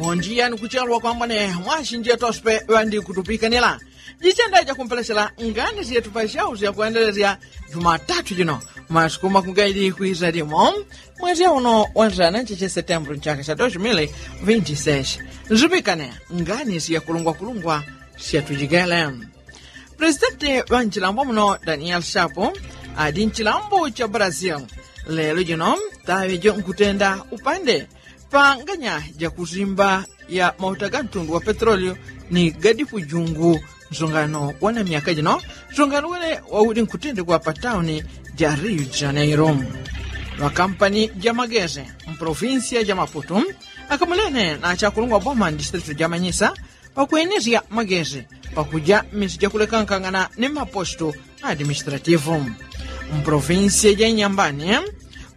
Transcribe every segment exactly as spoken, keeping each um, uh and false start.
Mondiya ni kuchelwa kwambone mwasinje tospe ŵandi kutupikanila. Jichenda jakumpelesela ngani syetu pa syau syakwendelesya jumatatu jino, masiku makungaili kwisa limo, mwezi auno wa nzana ncheche setembro nchaka sya dos mili vinti seshi. Nzupikane ngani syakulungwakulungwa syatujikele. Presidenti ŵa nchilambo muno daniel shapu adi nchilambo cha brazil lelo jino taŵe jo nkutenda upande pa nganya jakuzimba ya mauta ga ntundu wa petrolio ni gadipu jungu. Nsungano wana myaka jino nsungano wene wauli nkutendekwa pa tauni ja rio de janeiro. Ŵakampani ja mageze mpolofinsiya ja maputu akamulene na chakulungwa boma ndistritu ja manyisa pakwenesya magezi pakuja mmisi jakulekankangana ni maposto administrativu. Mpolofinsiya ja inyambani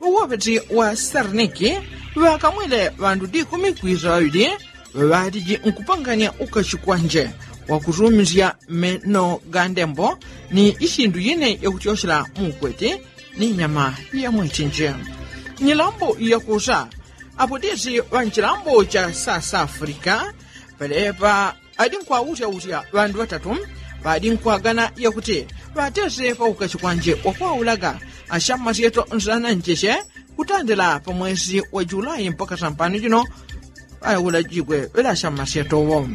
ŵawopeti wa sarniki ŵakamwile ŵandu dikumi kwisa ŵaŵili ŵaŵatiji nkupanganya ukachikwanje wakutumisya meno ga ndembo ni isindu yine yakutyosyela mukweti ni nyama ya mwechinji. Nyilambo yakusa apo disi ŵa nchilambo cha sasafrika pelepa adi nkwausyausywa ŵandu ŵatatu ŵadi nkwagana yakuti ŵatese paukachi kwanje wakwaulaga asyamasyeto nsanancheche kutandila pa mwesi wa julai mpaka sampano jino ŵaulajigwe ŵela asyamasyeto wo.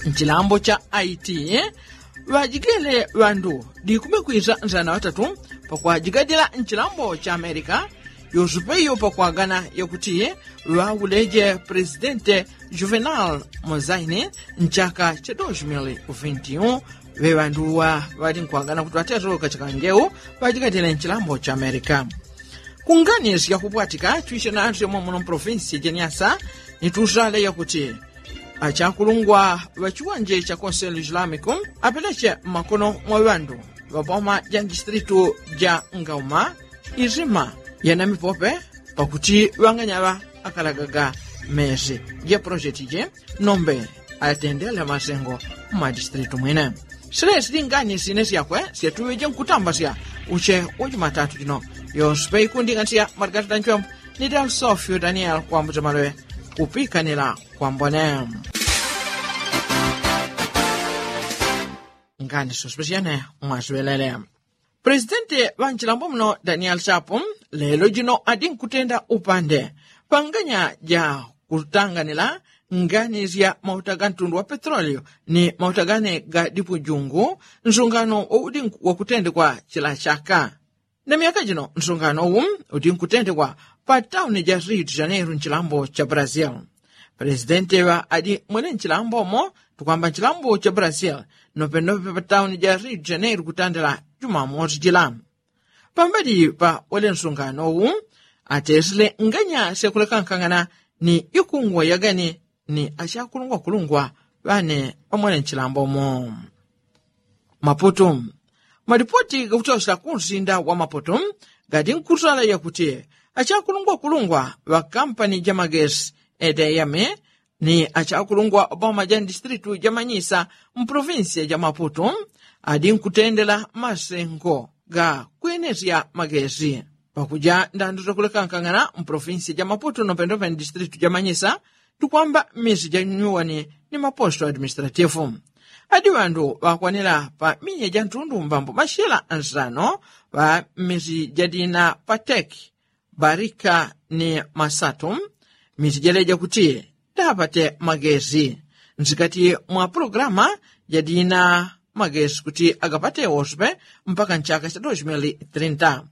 Nchilambo cha aiti ŵajigele ŵandu dikume kwisa nsana ŵatatu pakwajigadila nchilambo cha amerika yosupe iyo pakwagana yakuti ŵauleje presidente juvenal mozaini nchaka cha dos mili vinti un. Ŵe ŵanduwa ŵali nkwagana kuti ŵatesoloka chakangeu ŵajigadila nchilambo cha amerika. Kungani syakupwatika twisye nasyo mwamuno mpolofinsi jeniasa ni tusale yakuti achakulungwa ŵa chiwanje cha konselu islamiku apeleche mmakono mwa ŵandu ŵa boma ja ndistritu ja ngauma izima ya namipope pakuti ŵanganyaŵa akalagaga mesi ja polosheti je nombe atendele masengo mma distritu mwine. Silesi lingani sine syakwe syatuŵeje nkutambasya uche wa jumatatu jino yonse peikunding'anisya marigati danchwembo ni dalsofyo daniel kwambuza maloŵe kupikanila kwambone. Ngani sospesyene mwaswelele. Presidenti ŵa nchilambo muno daniel chapu lelo jino adi nkutenda upande panganya ja kutanganila ngani sya mauta ga ntundu wa petrolio ni mauta gane ga dipujungu nsungano waudi wakutendekwa chila chaka. Na myaka jino nsungano uwu udi nkutendekwa pa tauni ja rio de janeiro nchilambo cha brazil. Presidenti ŵa adi mwene nchilambo mo tukwamba nchilambo cha brazil nopenope pa tauni ja rio de janeiro kutandila jumamosi jila. Pambali pa wele nsungano uwu atesile nganya syakulekankangana ni ikungwa yagani ni achakulungwakulungwa ŵane ŵamwene nchilambo mo. Maputu. Malipoti gakutyosela kunsinda wa maputu gadi nkusala yakuti achakulungwakulungwa ŵa kampani ja magesi edeyami ni achakulungwa boma ja ndistritu ja manyisa mpolofinsiya ja maputu adi nkutendela masengo ga kwenesya magesi pakuja ndandu zakulekankangana mpolofinsiya ja maputu nopendope ndistritu ja manyisa tukwamba mmisi ja nyuwani ni maposto administratifu. Adi ŵandu ŵakwanila pa minya ja ntundu mbambo mashila ansano ŵa mmisi jadina pateki barika ni masatu. Mmisi jaleja kuti dapate magesi nsikati mwa pulogulama jadina magesi kuti agapate woswe mpaka nchaka cha dos mili trinta.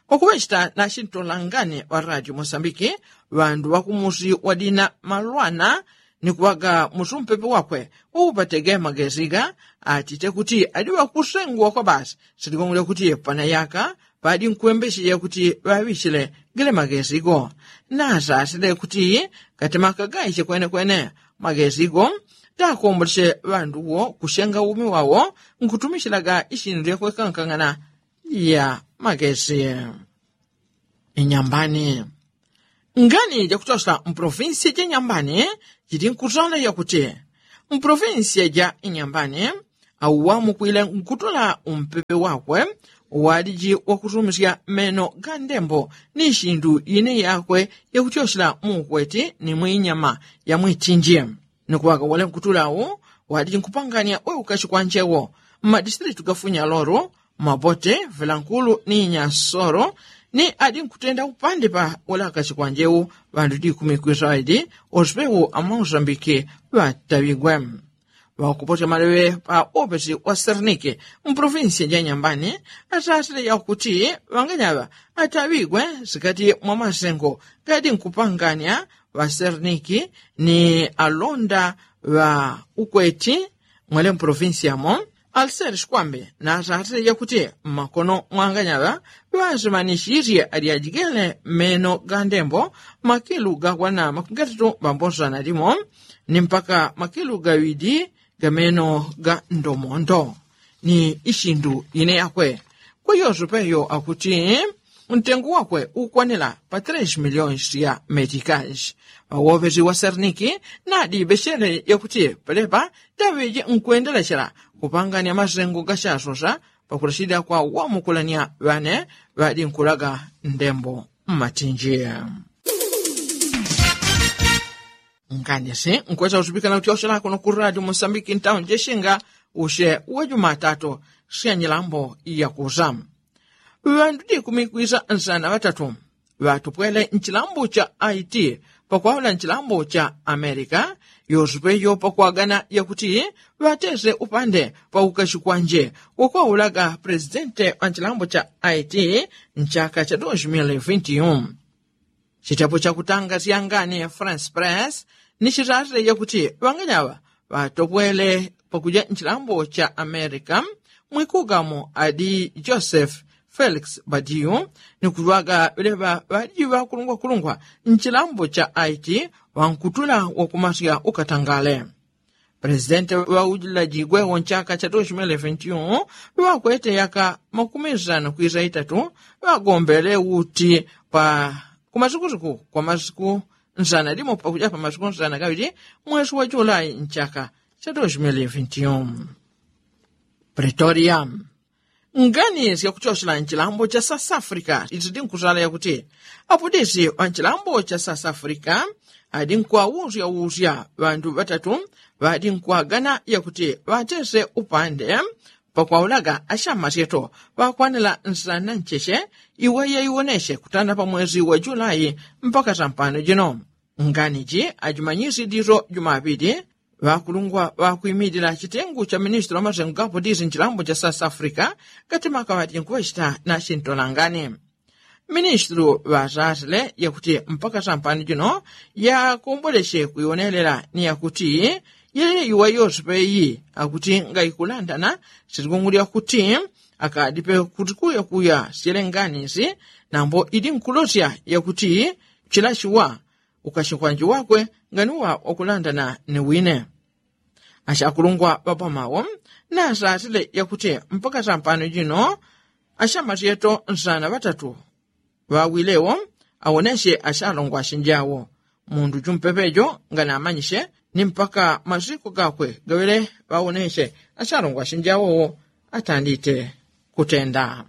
Pakuŵechita na chintolangani ŵa radio mosambiki ŵandu ŵakumusi wadina malwana ni kuŵaga musi umpepe wakwe waupatege magesiga atite kuti adi ŵakusengwa kwa basi siligongole kuti panayaka ŵadi nkwembecheja kuti ŵaŵichile gele magesigo. Nasasile kuti gatimakagaiche kwenekwene magesigo takomboleche ŵanduwo kusenga umi wawo nkutumichilaga ichinu lyakwekankang'ana ya magesi. Inyambani. Ngani jakutyosa mpolofinsiya ja nyambani jili nkutala yakuti mpolofinsiya ja inyambani Auwamukwile nkutula umpepe wakwe wadiji wakusumisya meno ga ndembo ni sindu ine yakwe yakutyosyela muukweti ni mwinyama ya mwitinji. Ni kuŵaga wale nkutula au wadiji nkupanganya we ukashi kwanje wo mmadisitilitu ga funyalolo, mabote, vilankulu ni nyasolo. Ni adi nkutenda upande pa wale akashi kwanje u ŵandu dikumi kwisaidi osipewu amausambike ŵataŵigwe. Ŵakupote maleŵe pa opesi wa sernike mpolofinsiya ja nyambani asasile yakuti ŵanganyaŵa ataŵigwe sikati mwa masengo gadi nkupanganya ŵaserniki ni alonda ŵa ukweti mwele mpolofinsiya mo. Alseri sikwambe nasasile yakuti mmakono mwanganyaŵa ŵasimanisisye alyajigele meno ga ndembo makilu gakwana makugatatu ŵambonsana limo ni mpaka makilu gaŵidi gameno ga ndomondo. Ni isindu ine yakwe kweyoso peyo akuti ntengu wakwe ukwanila pa tres miliyoni sya metikasi. Ŵawopesi wa serniki nadi ŵesele yakuti pelepa taŵeje nkwendelechela kupanganya masengo gasasosa pakulasida kwa wamukulanya ŵane ŵadi nkulaga ndembo mmatinji. Nganyesi nkwesa usupikana utyosela kuno ku radio mosambiki ntauni jeshinga usye wa jumatatu sya nyilambo yakusa. Ŵandu dikumi kwisa nsana ŵatatu ŵatupwele nchilambo cha haiti pakwaula nchilambo cha amerika yosupe yo pakwagana yakuti ŵatese upande pa ukashi kwanje wakwaulaga presidente wa nchilambo cha haiti nchaka cha dos mil vinti un. Chitapo chakutanga syangani france press ni chitatile yakuti ŵanganyaŵa ŵatopwele pakuja nchilambo cha amerika mwikugamo adi joseph felix badiu ni kuŵaga ŵeleŵa ŵadi ŵakulungwakulungwa nchilambo cha haiti ŵankutula wakumasya ukatangale. Presidente ŵaujilajigwe wo nchaka cha dos mil vinti un ŵakwete yaka makumi nsanu kwisa itatu ŵagombele uti pa kumasukusuku kwa masiku nsana limo pakuja pa masiku nsana gaŵili mwesi wa julai nchaka cha dos mil vinti un. Pretoria. Ngani syakutyosela nchilambo cha south africa itidi nkusala yakuti apudisi wa nchilambo cha south africa adi nkwausyausya ŵandu ŵatatu ŵadi nkwagana yakuti ŵatese upande pakwaulaga asyamasyeto ŵakwanila nsana ncheche iwe yaiwonesye kutanda pa mwezi wa julai mpaka sampano jino. Ngani ji ajimanyisi diso jumaŵili ŵakulungwa ŵakwimilila chitengu cha ministri wa masengo gapo disi nchilambo cha south africa gatimaka ŵati nkuŵachita na chintolangani. Ministri ŵasasile yakuti mpaka sampano jino yakomboleche kuiwonelela ni yakuti yele iwa yose peyi akuti ngaikulandana silikungulya kuti akadipe kuti kuyakuya syelenganisi nambo idi nkulosya yakuti chilachiwa ukashikwanje wakwe nganiwa wakulandana ni wine. Ashakulungwa ŵapamawo nasasile yakuti mpaka sampano jino ashamasyeto nsana ŵatatu ŵawilewo awonesye ashalongwashe njawo mundu jumpepejo nganamanyishe ni mpaka masiku gakwe gaŵele ŵawonesye ashalongwashe njawowo atandite kutenda.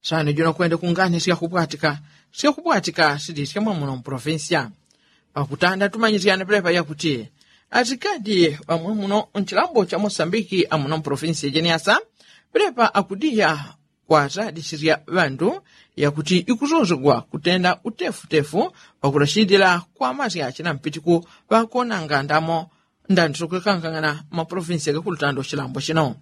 Sani jino kwende kungani syakupwatika syakupwatika sili syamwamuno mpolofinsiya. Pakutanda tumanyisyane pelepa yakuti asikadi ŵamwamuno nchilambo cha mosambiki amuno mpolofinsiya jeniasa pelepa akudiya kwasalisisya ŵandu yakuti ikusosegwa kutenda utefutefu pakulasindila kwa masya chinampitiku ŵakonanga ndamo ndandiso kwekangangana mapolofinsiya gakulutanda uchilambo chino.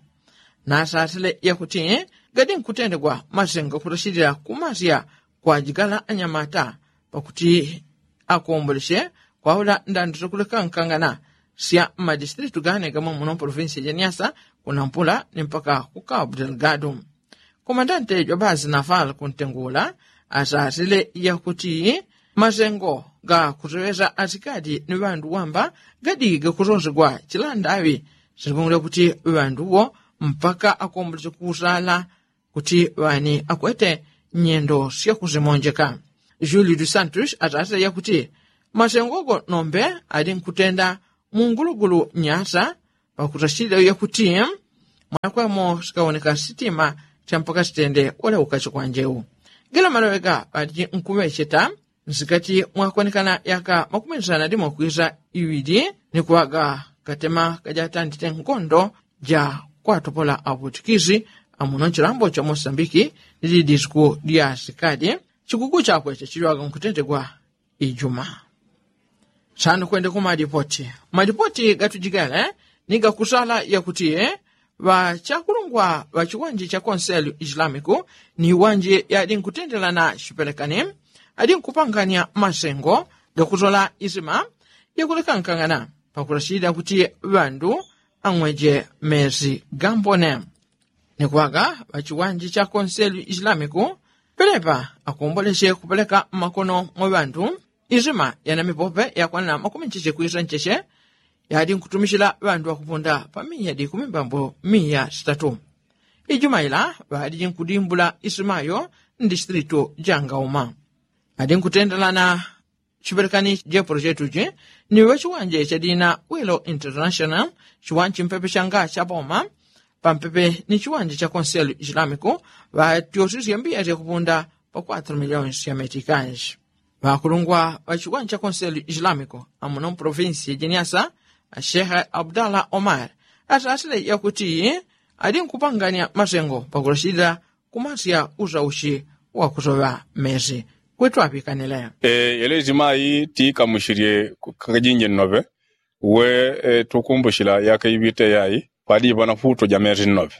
Nasasile yakuti gadi nkutendegwa masengo gakulasindila ku masya kwa jigala anyamata pakuti akombolesye kwaula ndandiso kwekangangana sya mmadistritu gane gamwe muno mpolofinsiya jeniasa kunampula ni mpaka ku cabo delgado. Komandante jwa bazi naval kuntengula asasile yakuti masengo gakuseŵesa asikadi ni ŵandu wamba gadi gakusosegwa chilandaŵi sikungulya kuti ŵanduwo mpaka akomboleche kusala kuti ŵani akwete nyendo syakusimonjeka. Julio dos santos asasile yakuti masengo go nombe ali nkutenda mungulugulu nyasa pakuta shida yakuti mwanakwemo sikawoneka sitima sya mpaka sitende wala ukachi kwanjeu. Gila maloŵe ga ŵaliji nkuŵecheta nsikati mwakonekana yaka makumi nsana limo kwisa iŵili ni kuŵaga katema kajatandite nkondo ja kwatopola aŵutikisi amuno nchilambo cha mosambiki ni lidisiku lya sikali. Chikuku chakwe chachiŵaga nkutentegwa ijuma. Sano kwende ku malipoti. Malipoti gatujigale ni gakusala yakuti ŵachakulungwa ŵa chiwanje cha konselu islamiku ni iwanje yadi nkutendelana chipelekani adi nkupanganya masengo gakutola isima yakulekankangana pakulachilila kuti ŵandu ang'weje mesi gambone. Ni kuŵaga ŵa chiwanje cha konselu islamiku pelepa akomboleche kupeleka mmakono mwa ŵandu isima yana mipope yakwanana makumi ncheche kwisa ncheche yadi nkutumichila ŵandu ŵakuponda pa miya dikumi mbambo miya sitatu. Ijuma ila ŵadi nkudimbula isimayo ndisitilitu jangauma adi nkutendelana chipelekani jepolo chetuchi ni ŵachiwanje chadina wilo international chiwanje mpepe changa chaboma pampepe ni chiwanje cha konselu islamiku ŵatyosisye mbiya syakupunda pa kwatro miliyoni sya metikans. Ŵakulungwa ŵa chiwanja konselu islamiku amuno mprovinsi ya jeniasa ashehe abdala omar atasile yakuti adi nkupanganya masengo pakulachilila kumasya usauchi wakusoŵa mesi. Kwitu aŵikanile. Yele izimayi tikamuchilye kakajinji nnoŵe we tukumbuchila yaka iŵite yayi kwadiŵa na futo ja mesi nnoŵe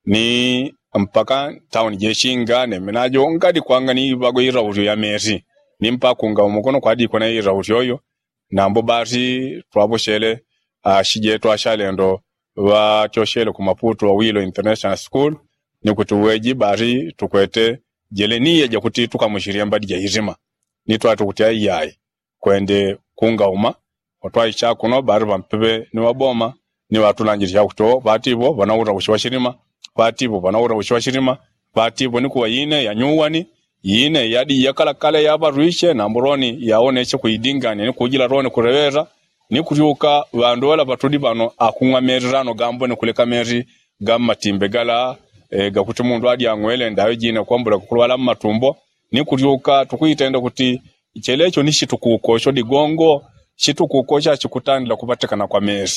ni mpaka tauni jechinga nemenajo ngadi kwanga ni iŵago irausyo ya mesi ni mpaka kunga umukono kwadikwa na irausyo yo. Nambo basi twaŵochele ashijetu ashalendo ŵatyochele ku maputu wa wilo international school ni kuti uweji basi tukwete jele niye jakuti tukamuchilye mbadi ja isima ni twati kuti aiyayi kwende kungauma. Watwaicha kuno basi ŵampeŵe ni ŵaboma ni ŵatulanjile chakuti o ŵati iŵo ŵanaura uchi wa chilima ŵati iŵo ŵanaura uchi wa chilima ŵati iŵo ni kuŵa ine yanyuwani ine yadi yakalakale yaŵarwiche nambo loni yawoneche kuidingania ni kujila loni kuleŵela ni kutyuka ŵandu ŵala ŵatuli ŵano akung'wa meli lano gambo ni kuleka meli ga mmatimbe gala gakuti mundu adi ang'wele ndaŵe jine kwambola kukulwala mmatumbo. Ni kutyuka tukwitenda kuti chelecho ni chitukuko cho digongo chitukuko chachikutandila kuŵatekana kwa meli.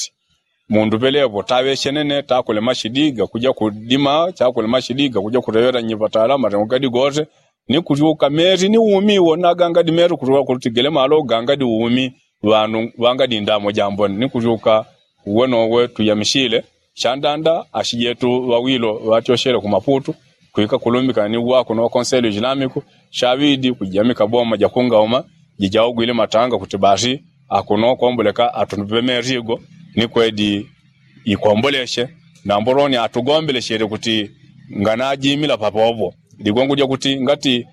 Mundu ŵelevo taŵechenene takulema chidi gakuja kudima chakulema chidi gakuja kuleŵela nyiŵatala matengo gadi gose. Ni kutyuka meli ni umi wona gangadi meli kutyuka kuti gelemalo gangadi umi ŵanu ŵangadi ndamo jambone ni kutyuka. Uwe nowe tuyamichile chandanda ashijetu ŵawilo ŵatyochele ku maputu kwika kulumbikana ni uwakuno wa konselu islamiku chaŵidi kujamika boma jakungauma jijaugwile matanga kuti basi akuno kwomboleka atuŵemele igo ni kwedi ikwomboleche. Nambo loni atugombelechele kuti nganajimila papopo ligongo lyakuti ngati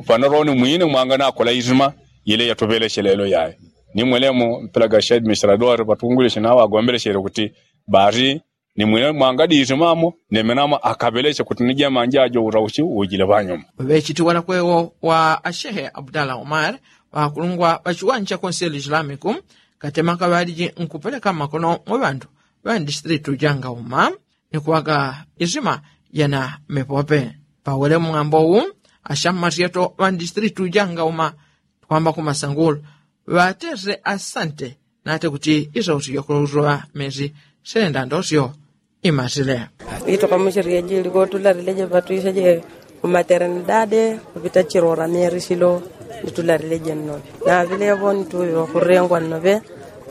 fano loni mwine mwanganakola isima ile yatuŵeleche lelo yaye. Ni mwelemo mpela ga shedmistrador ŵatungwile chinaŵagombelechele kuti basi ni mwine mwangadisimamo nemenamo akaŵeleche kuti ni jemanja ajo urauchi ujile ŵanyuma. Ŵechitiwala kwewo wa ashehe abdala omar ŵakulungwa ŵa chiwanja konselu islamiku katemaka ŵaliji nkupeleka mmakono mwa ŵandu ŵa ndisitilitu jangauma ni kuŵaga isima jana mepope. Pawele mwambo wu ashammasyeto ŵa ndisitilitu jangauma twamba kumasangulu ŵatese asante nate kuti isausi yakulausoŵa mesi senda ndosyo imasile. Itukamuchirye jili kotularile jeŵatwise je kumaternidade kupita chirora meri silo. Nditularile jennoŵe naŵilevo nituŵiŵa kurengwa nnoŵe.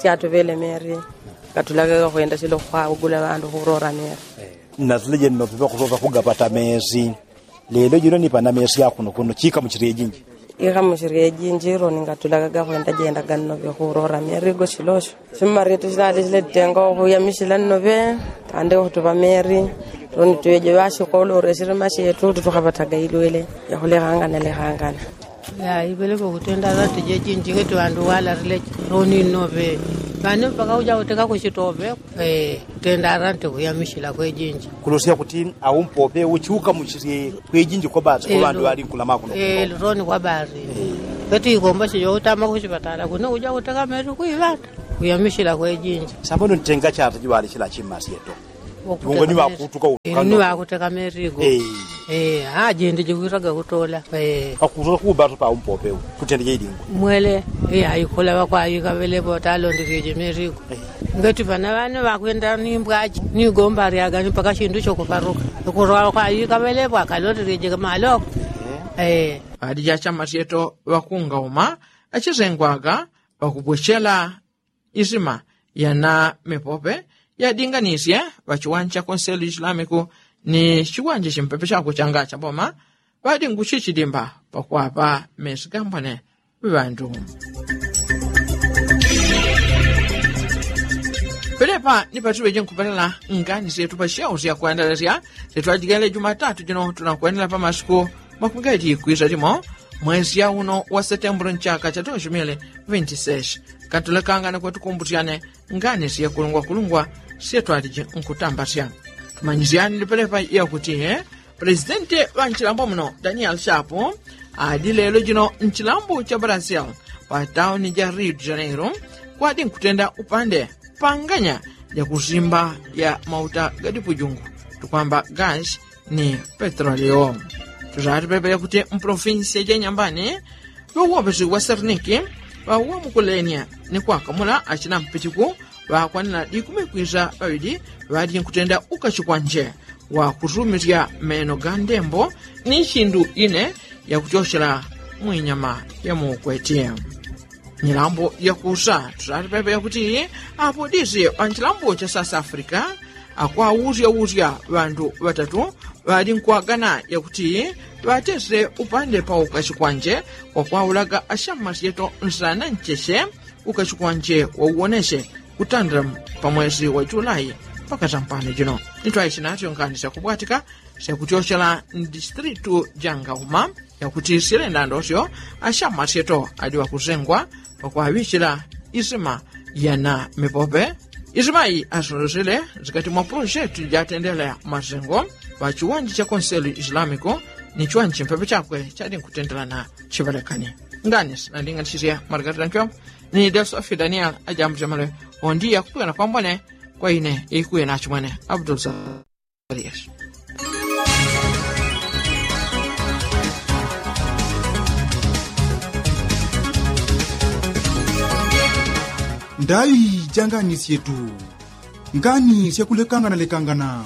Tyatuŵele meri katulagaga kwenda silo kwaugula ŵandu kurora meri. Natule jennoŵe ŵakusosa kugapata mesi. Lelo jino ni pana mesi akuno kuno chikamuchirye jinji. Ikamuchirye jinji loni ngatulagaga kwenda jendaga nnoŵe kurora meri go silosyo. Simmaryetu silali sile titenga okuyamisila nnoŵe tande otuŵa meri. Loni tuweje ŵasikolo ore sili masyetu tutukaŵataga ilwele yakulekangana lekangana. Yaipeleka ukutenda ŵantu jejinji ngati ŵandu walarile loni nnoŵe. Ŵane mpaka uja uteka kusitoŵe. Kutenda ŵantu kuyamisila kwejinji. Kulosya kuti aumpope uchiuka muchisye kwejinji kwabasi kwa ŵandu ŵali nkulamakuno. Loni kwabasi. Kwetu ikomba sijo utama kusipatala kuno uja uteka meri kuiŵata. Kuyamisila kwejinji. Sambano ntenga chata jiwali chila chimasyeto. Wongo ni wakuteka merigo. Ajindi jikwitaga kutola. Akutola kubato pa umpope. Kutende jeidingo mwele. Iya ikula wakwayika welepo talondekeje merigo. Ngati pana wane wakwenda ni mbwaji ni gomba lyaga ni mpaka shindu shokuparuka. Kutwa wakwayika welepo akalondekeje maloko. Adi jachamasyeto wakungauma achizengwaga wakupwechela isima yana mipope yadinganisye wachiwanja konselu isilamiku ni chiwanja chimpepe chakwe changa chaboma. Wadinguchichidimba pakwapa mesigambwane. Ŵandu pelepa ni patiŵeje nkupelala ngani syetu pachiyau syakwendelesya. Syetu ajigele jumatatu jino tunakwenela pamasiku makungaji kwisa limo mwesi ya uno wa setembro nchaka cha dosi mili vinti sesi. Katulekanga ni kwatukumbusyane ngani syekulungwakulungwa syetwaliji nkutambasya. Tumanyisyani ni pelepa yakuti presidenti ŵa nchilambo muno daniel shapu adi lelo jino nchilambo cha brasil pa tauni ja rio de janeiro kwadi nkutenda upande panganya ja kusimba ya mauta gadipujungu tukwamba gashi ni petrolio. Tuzati pepe yakuti mpolofinsi ya janyambani ŵauwopesi wa serniki ŵauwamukulenia ni kwakamula achina mpitiku ŵakwanila dikumi kwisa ŵaŵidi ŵadi nkutenda ukachikwanje wa kusumisya meno ga ndembo ni chindu ine yakuchochela mwinyama yamukweti. Nyilambo yakusa tusati pepe yakuti apo disi panchilambo cha south africa akwausyausywa ŵandu ŵatatu ŵadi nkwagana yakuti ŵatese upande pauka chikwanje wakwaulaga ashamasyeto nsana ncheche uka chikwanje wauwoneche kutandila pamwesi wa julai mpaka tampano jino. Nitwaishi natyo ngani syakubwatika syakutyochela ndistritu jangauma yakuti silenda ndosyo ashamasyeto adi ŵakusengwa pakwaŵichila isima yana mipope. Isimayi asososile zikati mwa pulosheti jatendela masengo ŵa chiwanja cha konselu isilamiku ni chiwanja chimpepe chakwe chadi nkutendelana chiŵalekani. Ngani sinandinganisisye margarita nkyombo ni delsofio daniel ajambu jamale. Ondiya kupwikana kwambone kwa ine ikuye nachimwene abdulsa. Ndai janganisyetu ngani syakulekangana lekangana.